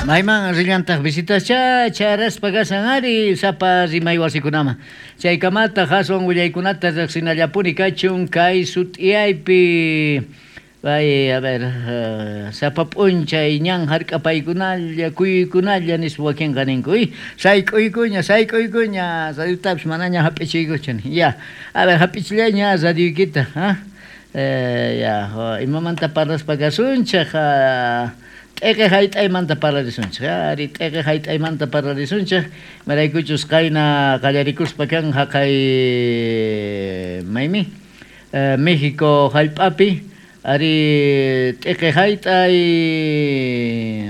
Mayman rillantaj visitascha charaspa kashan ari sapa rimay wasikunaman. Chaykamataq aswan willaykunata riqsinallapuni kachun kay sut'iyaypi. Pay, a ver, sapa p'unchay ñan hark'apaykunalla, kuyuykunalla nispa wakinqa ninku, y sayk'uykuña, sayk'uykuña, radiotapis manaña hap'ichiykuchu. Ya, a ver, hap'ichillayña radioykita, ha? Ya, imamanta parlaspa kasunchej, t'eqe hayt'aymanta parlarisunchej, ari t'eqe hayt'aymanta parlarisunchej, imaraykuchus qayna qallarikuspa kan haqay maymi, México hallp'api, ari t'eqe hayt'ay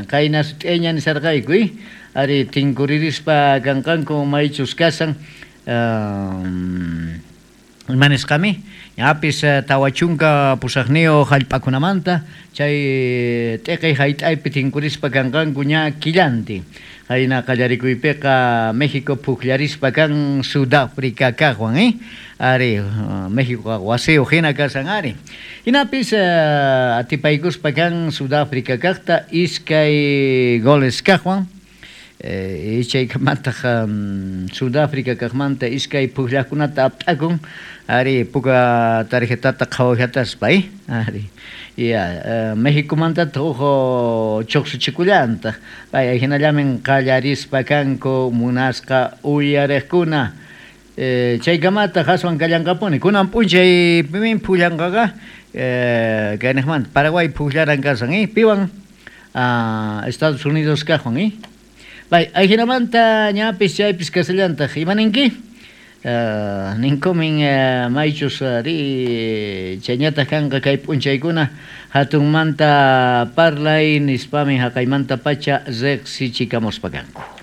qayna sut'iyayña nisharqayku, ari tinkuririspa kanqanku maychus kashan, ima nisqami, ñapis 48 hallp'akunamanta chay t'eqe hayt'aypi tinkurispa kanqanku ña killantin. Qayna qallarikuypiqa México pukllarispa kan Sudáfrica kaqwan, ari México wasiyuq hina kashan ari. Hinapis atipaykuspa kan Sudáfrica kaqta 2 goles kaqwan. Chaykamataq Sudáfrica kaqmanta 2 pukllaqkunata apt'akun, ari puka tarjetata qhawajataspa, ari. Ya, Mexicomantataq huk chuqsuchikullantaq. Pay hinallamin qallarispa kanku munasqa uyariqkuna. Chaykamataq aswan kallanqapuni. Kunan p'unchay pimin pullanqaqa kayniqmanta Paraguay pukllaran kashan, piwan Estados Unidos kaqwan, Pay ajinamanta ñapis chaypis kasallantaq. Imaninki? Ninkumin maychus ri chayñataq kanqa kay p'unchaykuna hatunmanta parlay nispamin haqaymanta pacha riqsichikamuspa kanku.